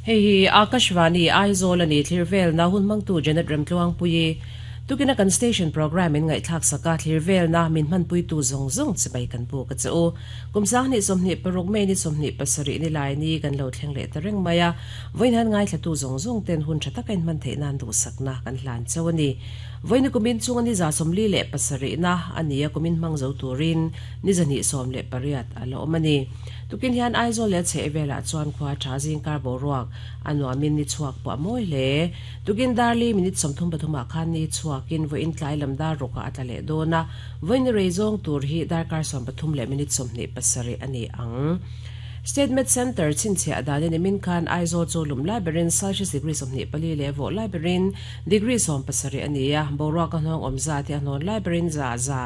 Hei hi Akashvani Aizawl a ni thlir velna hun hmangtu Janet Remtluangpuii tukina kan station programme in ngaihthlak sak a, thlir velna min hmanpuitu zawng zawng chibai kan buk a che u. Kum 2026 May ni 27 ni lai ni kan lo thleng leh ta reng mai a, vawiin han ngaithlatu zawng zawng ten hun tha taka inhman theih nan duhsakna kan hlan chauh a ni. Vawiin kumin chunga ni 47 na a ni a, kumin hmang zo turin ni 218 a la awm a ni. Tukin hian Aizawl leh a chheh velah chuan khua tha zingkar boruak a nuamin ni chhuak pawh a mawi hle. Tukin darli minute 33 ah khan ni chhuakin vawiin tlai lam dar rawkah a tla leh dawn a, vawiin ni rei zawng tur hi darkar 13 leh minute 27 a ni ang. State Med Centre chhinchhiah danin nimin khan Aizawl chu lum lai berin Celsius degree 24 leh vawh lai berin degree 17 a ni a, boruak a hnawng awm zat hi a hnawn lai berin za za,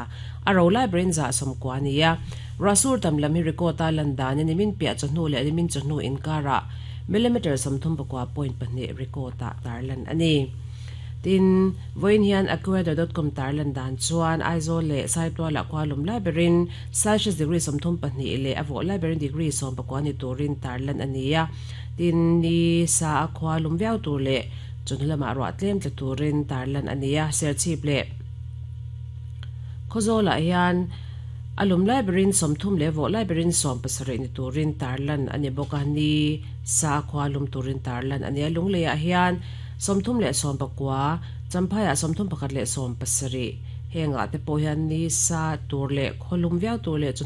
a ro lai berin za 90 a ni a. Ruahsur tam lam hi record a lan danin nimin piah chawhnu leh nimin chawhnu inkarah millimeter 39.2 record ah tarlan a ni. Tin, vawiin hian AccuWeather.com tarlan dan chuan Aizawl leh Saitualah khua lum lai berin Celsius degree 32 leh a vawh lai berin degree 19 ni turin tarlan a ni a. Tin, ni sa a khua lum viau tur leh chawhnu lamah ruah tlem tla turin tarlan a ni a. Serchhip leh Khawzawlah hian a lum lai berin 30 leh vawh lai berin 70 ni turin tarlan a ni bawk a. Ni sa a khua lum turin tarlan a ni a. Lungleiah hian 30 leh 19, Champhaiah 31 leh 70, hengah te pawh hian ni sa tur leh khawlum viau tur leh chawhnu.